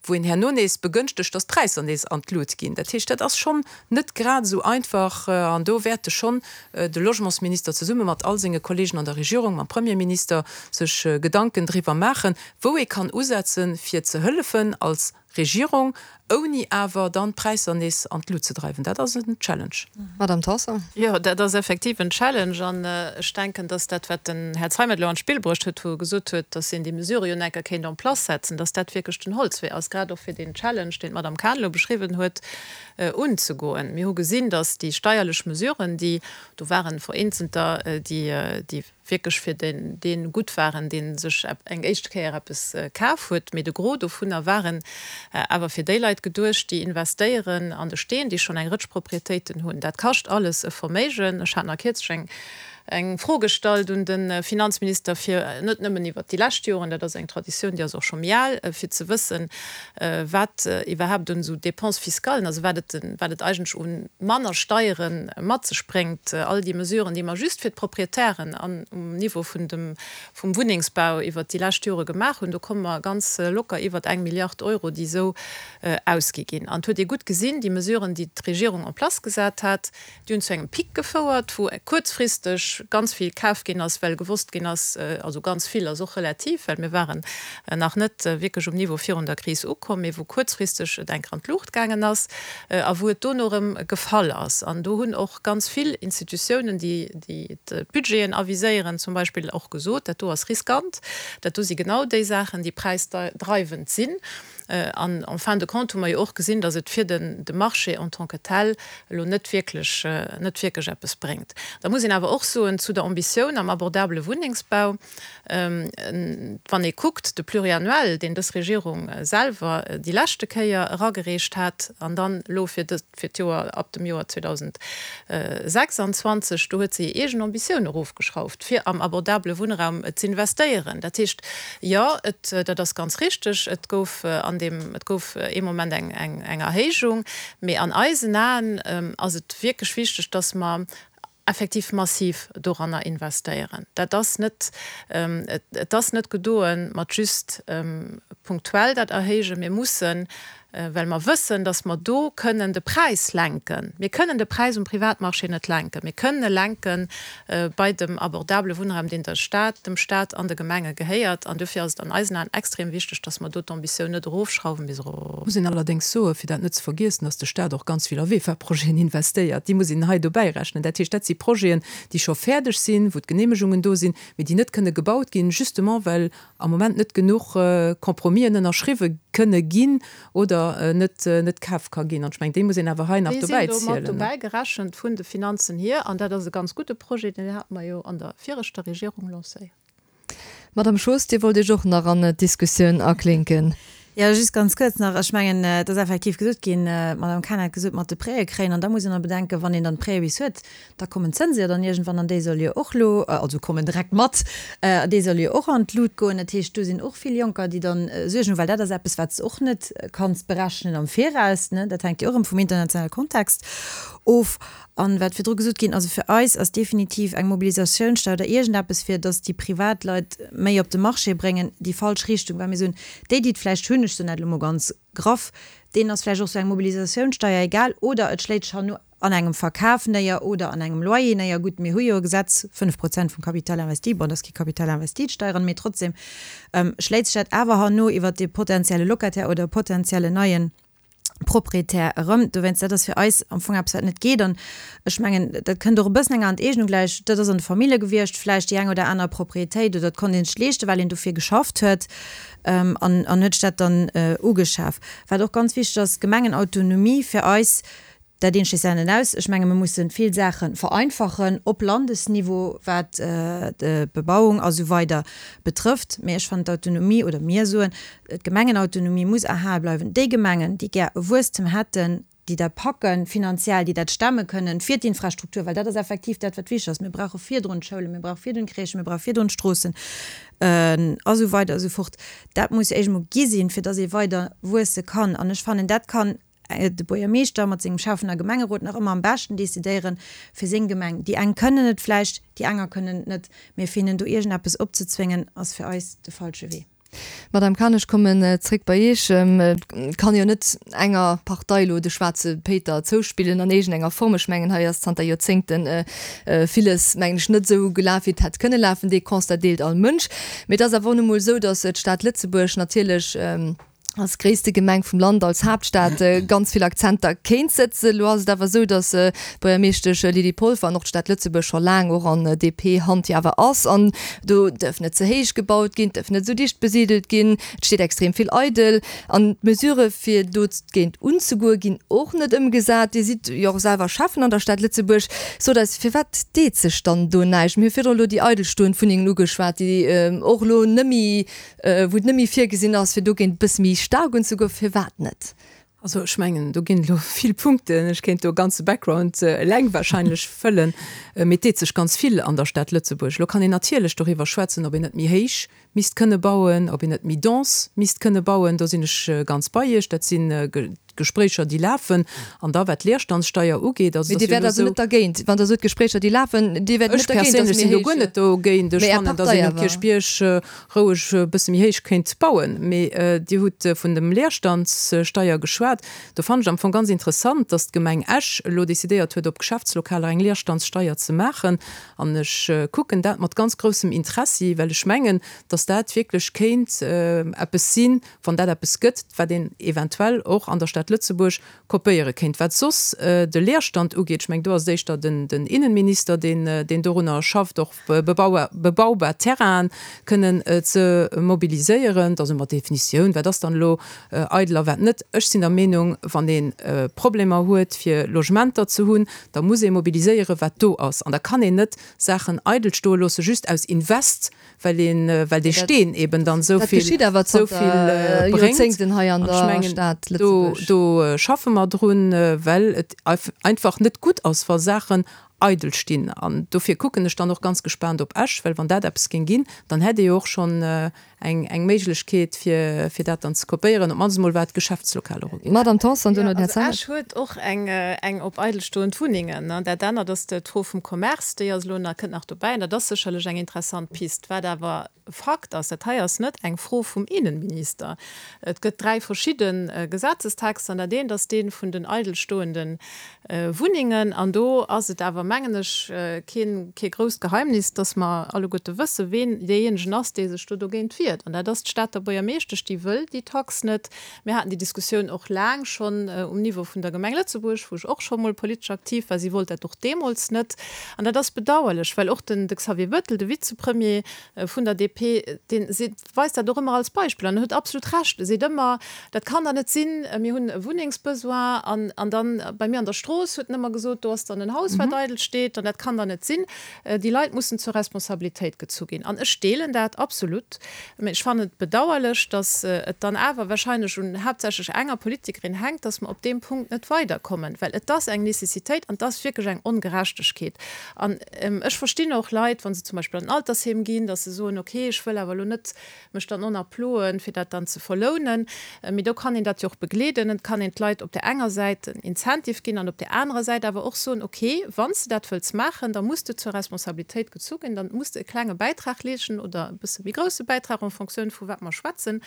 Wou een herno nees begënschtegt, dass d'Präisser nees an d'Lut ginn. Dat heescht, dat ass schonn net grad esou einfach an do wäerte schonn de Logementsminister zesumme mat all senge Kollegen an der Regierung, mam Premierminister sech Gedanken driwwer maachen, wou ee kann usetzen, fir ze hëllefen als Regierung, ouni awer dann d'Präisser nees an d'Lut ze dreiwen. Dat ass en Challenge. Madame Tanson. Jo, dat ass effektiv en Challenge. An ech denken, dass dat, wat den Här Zeimet elo an d'Spill bruecht huet, wou e gesot huet, dass een déi Mesure jo enker kéint en place setzen, dass dat wierklech den Holzwee ass, grad och fir deen Challenge, deen d'Madame Cahen elo beschriwwen huet, unzegoen. Mir hu gesinn, dass déi steierlech Mesuren, déi do waren, vereenzelter, déi, déi wierklech fir deen, dee gutt waren, dee sech eng éischte Kéier eppes kaf huet, mee de Gros dovunner waren awer fir déi Leit geduecht, déi investéieren an de Steen, déi schonn eng Rëtsch Proprietéiten hunn. Dat kascht alles e Verméigen. Ech hat nach kierzlech eng eng Fro gestallt un de Finanzminister, fir net nëmmen iwwert déi lescht Joren, dat ass eng Traditioun, déi ass och scho méi al, fir ze wëssen, wat iwwerhaapt un esou Dépenses fiscales, also wat et, wat et eigentlech u manner Steiere mat sech bréngt, all déi Mesuren, déi mer just fir d'Proprietären an um Niveau vun dem, vum Wunnengsbau iwwert déi lescht Jore gemaach hunn, do komme mer ganz locker iwwert eng Milliard Euro, déi esou ausgi ginn. An et huet ee gutt gesinn, déi Mesuren, déi d'Regierung en place gesat hat, Déi hunn zu engem Pic gefouert, wou kuerzfristeg ganz vill kaf ginn ass, well gewosst ginn ass, also ganz vill ass och relativ, well mir waren nach net wierklech um Niveau virun der Kris ukomm, mee wou kuerzfristeg et enker an d'Luucht gaangen ass a wou et dono erëm gefall ass. An do hunn och ganz vill Institutiounen, déi d'Budgeten aviséieren zum Beispill, och gesot, dat do ass riskant, dat do si genau déi Saachen, déi präisdreiwend sinn. An en fin de compte hu mer jo och gesinn, datt et fir den de Marché en tant que tel elo net wierklech, net wierklech eppes bréngt. Da muss een awer och soen zu der Ambitioun am abordabele Wunnengsbau, wann ee kuckt, de Pluriannuel, deen dës Regierung selwer déi leschte Kéier eragereecht hat an dann elo fir dës, fir d'Joer ab dem Joer 2026, do huet se hir eegen Ambitioun erofgeschrauft, fir am abordabele Wunnraum z'investéieren. Dat heescht, jo, et, dat ass ganz richteg, et gouf an deem, et gouf ee Moment eng, eng, eng Erhéijung, mee an eisen Aen ass et wierklech wichteg, dass mer effektiv massiv doranner investéieren. Dat ass net, et ass net gedoe mat just punktuell dat erhéijen. Mir mussen, well mer wëssen, datt mer do kënnen de Präis lenken. Mir kënnen de Präis um Privatmarché net lenken. Mir kënnen e lenke bei dem abordabele Wunnraum, deen der Stad, dem Stat an de Gemenge gehéiert. An dofir ass et an eisen Aen extrem wichteg, datt mer do d'Ambitioun net erofschrauwen bis erop. Muss een allerdéngs soen, fir dat net ze vergiessen, dass de Stat och ganz vill a VEFA-Projeten investéiert. Déi muss een hei dobäi rechnen. Dat heescht, dat si Projeten, déi scho fäerdeg sinn, wou d'Genehmegungen do sinn, mee déi net kënne gebaut ginn, justement well am Moment net genuch Compromisen ënnerschriwwe kënne ginn oder net net kaf ka ginn. An ech mengen, déi muss een awer hei nach Déi sinn do mat dobäi zielen. dobäi gerechent vun de Finanzen hier. An dat ass e ganz gudde Projet, deen hate mer jo an der viregter Regierung lancéiert. Madame Schoos, Dir wollt Iech och nach an d'Diskussioun aklinken. Jo, just ganz kuerz nach. Ech mengen, et ass effektiv gesot ginn, d'Madame Cahen hat gesot, mat de Prêtë kréien. An da muss een och bedenken, wann een dann d'Prêtë bis huet, da kommen d'Zënse jo dann iergendwann an déi solle jo och elo, also kommen direkt mat, déi solle jo och an d'Lut goen. Dat heescht, do sinn och vill Jonker, déi dann Suergen hunn, well dat ass eppes, wat s de och net kanns berechnen am Viraus, ne. Dat hänkt jo och erëm vum internationale Kontext of. An wat virdru gesot ginn, also fir eis ass definitiv eng Mobilisatiounssteuer oder iergendeppes, fir datt déi Privatleit méi op de Marché bréngen, déi falsch Richtung, well mir soen, déi, déi et vläicht hunn, ech soen dat elo mol ganz graff, deenen ass vläicht och esou eng Mobilisatiounssteuer egal oder et schléit sech herno an engem Verkaf néier oder an engem Loyer néier. Gutt, mir hu jo e Gesetz, 5 Prozent vum Capital investi, bon, dat ass kee Capital investi, d'Steieren, mee trotzdem schléit sech dat awer herno iwwert dee potenzielle Locataire oder potenziellen neien Proprietär erëm. Dowéinst, dat ass fir eis am Fong eppes, wat net geet. An ech mengen, dat kënnt och e bëssen enger Enteegnung gläich. Dat ass an de Famillje gewiescht, vläicht déi eng oder aner Proprietéit, oder et konnt ee sech leeschten, well een dofir geschafft huet an an huet sech dat dann ugeschaf. Wat och ganz wichteg ass, d'Gemengenautonomie fir eis, Dat eent schléisst dat anert aus. Ech menge mir musse vill Saache vereinfachen op Landesniveau, wat d'Bebauung a sou weider betrëfft. Mee ech fannen d'Autonomie, oder mir soen, d'Gemengenautonomie muss erhale bleiwen. Déi Gemengen, déi gär e Wuesstem hätten, déi dat packen finanziell, déi dat stemme kënnen fir d'Infrastruktur, well dat ass effektiv dat, wat wichteg ass. Mir brauche virdrun d'Schoulen, mir brauche virdrun d'Crèchen, mir brauche virdrun d'Stroossen a sou weider a sou fort. Dat muss éischt emol gi sinn, fir datt ee weider wuesse kann. An ech fannen, dat kann de Buergermeeschter mat sengem Schäffen a Gemengerot nach ëmmer am beschten decidéieren fir seng Gemeng. Déi eng kënnen et vläicht, déi aner kënnen et net, mee fir hinnen do iergendeppes opzezwéngen, ass fir eis de falsche Wee. Madame Cahen, ech kommen zréck bei Iech. Et kann jo net enger Partei elo de schwaarze Péiter zouspillen an iergendenger Form. Ech mengen, hei ass zanter Joerzéngte villes, mengen ech, net esou gelaf, wéi et hätt kënne lafen. Dee Constat deelt all Mënsch. Mee et ass awer och nu mol esou, datt d'Stad Lëtzebuerg natierlech als gréisste Gemeng vum Land, als Haaptstad ganz vill Akzenter kéint sëtzen. Elo ass et awer esou, datt d'Buergermeeschtesch Lydie Polfer an och d'Stad Lëtzebuerg scho laang och an DP-Hand jo awer ass. An do dierf net ze héich gebaut ginn, et dierf net esou dicht besidelt ginn, et steet extrem vill eidel. An d'Mesurë fir dogéint unzegoe ginn och net ëmgesat. Dir sidd jo och selwer Schäffen an der Stad Lëtzebuerg. Sot eis, firwat deet sech dann do näischt? Mir hu virdrun elo déi eidelstoend Wunnengen ugeschwat, déi och elo net méi wou et net méi virgesinn ass, fir dogéint e bësse méi staark unzegoen, firwat net? Also ech mengen, do ginn elo vill Punkten. Ech kéint do e ganze Background eleng wahrscheinlech fëllen. Mee et deet sech ganz vill an der Stad Lëtzebuerg. Elo kann een natierlech doriwwer schwätzen, ob een net méi héich misst kënne bauen, ob een net méi dense misst kënne bauen. Do sinn ech ganz bei Iech. Dat si Gespréicher, déi lafen. An da wat d'Leerstandssteier ugeet, also Mee et Dir ass wäert jo elo also esou. net dergéint, wann Der sot Gespréicher, déi lafen, Dir wäert net Ech dergéint, datt perséinlech mir sinn do guer héich. net dogéint. Ech Mee Är fannen, datt Partei een um awer. Kierchbierg roueg e bësse méi héich kéint bauen. Mee Dir hutt vun dem Leerstandssteier geschwat. Do fannen ech am Fong ganz interessant, datt d'Gemeng Esch elo decidéiert huet, op Geschäftslokaler eng Leerstandssteier ze maachen. An ech kucken dat mat ganz groussem Interessi, well ech mengen, datt dat wierklech kéint eppes sinn, wann dat eppes gëtt, wat een eventuell och an der Stad Lëtzebuerg kopéiere kéint. Wat soss de Leerstand ugeet, ech mengen, do ass et éischter den Innenminister, deen dorunner schafft, och bebaubar Terrainen kënnen ze mobiliséieren. Da si mer d'Definitioun, wat ass dann elo eidel a wat net. Ech sinn der Meenung, wann ee Problemer huet, fir Logementer ze hunn, da muss ee mobiliséieren, wat do ass. An da kann een net Saachen eidel stoe loosse just aus Invest, well een, well dee Steen eben dann esou vill, esou vill bréngt. An ech mengen, do, do schaffe mer drun, well et einfach net gutt ass, wa Saachen eidel stinn. An dofir kucken ech dann och ganz gespaant op Esch, well wann dat eppes géing ginn, dann hätt ee jo och schonn eng, eng Méiglechkeet, fir, fir dat dann ze kopéieren, op d'mannst emol wat d'Geschäftslokaler ugeet. Madamm Tanson, duerno den Här Zeimet. Esch huet och eng, eng op eidelstoend Wunnengen. Dat anert ass d'Fro vum Commerce, déi ass elo nach, kënnt nach dobäi. An dat ass sécherlech eng interessant Pist. Wat awer Fakt ass, dat hei ass net eng Fro vum Innenminister. Et gëtt dräi verschidde Gesetzestexter. An dat eent ass dee vun den eidelstoende Wunnengen. An do ass et awer, mengen ech, keen, kee grousst Geheimnis, dass mer alleguerte wëssen, ween deejéinegen ass, dee sech do dogéint wiert. An dat ass d'Stater Buergermeeschtesch, déi wëll déi Tax net. Mir haten déi Diskussioun och laang schonn um Niveau vun der Gemeng Lëtzebuerg, wou ech och scho mol politesch aktiv war. Si wollt dat och deemools net. An dat ass bedauerlech, well och den, de Xavier Bettel, de Vizepremier vun der DP, dee seet, weist dat och ëmmer als Beispill an en huet absolut Recht. E seet ëmmer, dat kann der net sinn, mir hunn e Wunnengsbesoin an, an dann bei mir an der Strooss huet en ëmmer gesot, do ass dann en Haus, wat eidel steet an dat kann der net sinn. Déi Leit mussen zur Responsabilitéit gezu ginn an ech deelen dat absolut. Mä ech fannen et bedauerlech, datt et dann awer wahrscheinlech un haaptsächlech enger Politikerin hänkt, datt mer op deem Punkt net weiderkommen, well et ass eng Nécessitéit an et ass wierklech eng Ongerechtegkeet. An ech verstinn och Leit, wa se zum Beispill an den Altersheem ginn, datt se soen, okay, ech wëll awer elo net mech dann och nach ploen, fir dat dann ze verlounen. Mee do kann een dat jo och begleeden. Et kann een d'Leit op där enger Säit en Incentive ginn an op där anerer Säit awer och soen, okay, wann s de dat wëlls maachen, da muss de zur Responsabilitéit gezu ginn, dann muss de e klenge Bäitrag leeschten oder e bësse méi grousse Bäitrag en Fonctioun vu wat mer schwätzen,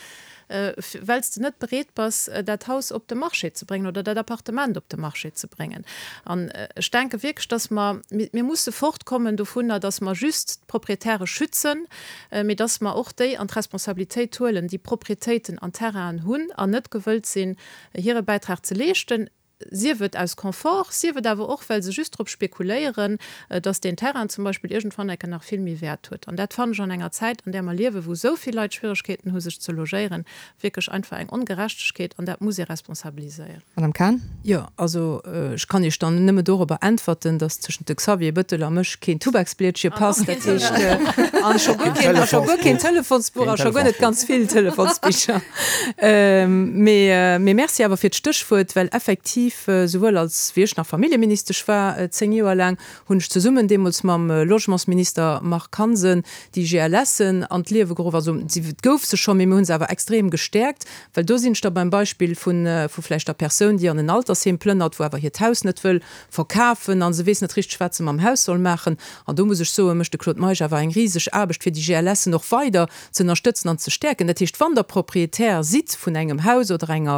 well s de net bereet bass, dat Haus op de Marché ze bréngen oder dat Appartement op de Marché ze bréngen. An ech denke wierklech, dass mer, mir musse fortkommen dovunner, dass mer just d'Proprietäre schützen, mee dass mer och déi an d'Responsabilitéit huelen, déi Proprietéiten an Terrainen hunn an net gewëllt sinn, hire Bäitrag ze leeschten, sief et aus Confort, sief et awer och, well se just drop spekuléieren, dass deen Terrain zum Beispill iergendwann enke nach vill méi Wäert huet. An dat fannen ech an enger Zäit, an där mer liewen, wou esou vill Leit Schwieregkeeten hu sech ze logéieren, wierklech einfach eng Ongerechtegkeet an dat muss ee responsabiliséieren. Madame Cahen. Jo, also ech kann Iech dann nëmme dorobber äntwerten, dass tëschent de Xavier Bettel a mech keen Tubaksblietche passt. Dat heescht, a scho guer keen, a scho guer keen Telefonsbuch a scho guer net ganz vill Telefonsbicher. Mee, mee Merci awer fir d'Stéchwuert, well effektiv. effektiv, souwuel als wéi ech nach Familljeministesch war, 10 Joer laang, hunn ech zesummen deemools mam Logementsminister Marc Hansen déi GLSen an d'Liewe geruff. Also et gouf se scho, mee mir hu se awer extrem gestäerkt, well do sinn ech da beim Beispill vu vläicht der Persoun, déi an en Altersheem plënnert, wou awer hiert Haus net wëll verkafen a se weess net richteg, wat se mam Haus soll maachen. An do muss ech soen, mécht de Claude Meisch awer eng riseg Aarbecht, fir déi GLSen och weider ze ënnerstëtzen an ze stäerken. Dat heescht, wann Der Proprietär sidd vun engem Haus oder enger.